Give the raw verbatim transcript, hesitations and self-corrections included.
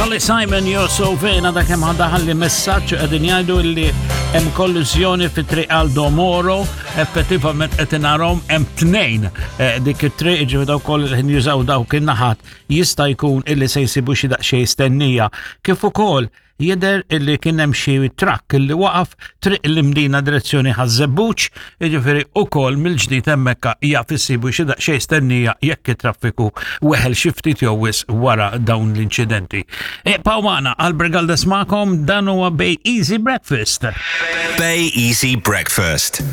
Carly Simon, "You're So Vain", għadha kemm daħalli messaġġ, qegħdin jgħidu li hemm kolliżjoni fi Triq Aldo Moro, effettivament qed narahom, hemm tnejn eh, dik it-triq, ġifieri dawk kollha li jużaw dawk in-naħat jista' jkun illi se jsibu xi daqsxejn stennija. Kif ukoll jidher illi kien hemm xi trakk illi waqaf Triq l-Imdina direzzjoni Ħaż-Żebbuġ, jiġifieri ukoll mill-ġdid hemmhekk jaf issibu xi daqsxejn stennija jekk it-traffiku weħel xi ftit jew wisq wara dawn l-inċidenti. Ibqgħu magħna, Albert Galdes magħkom, dan huwa Bay Easy Breakfast. Bay Easy Breakfast.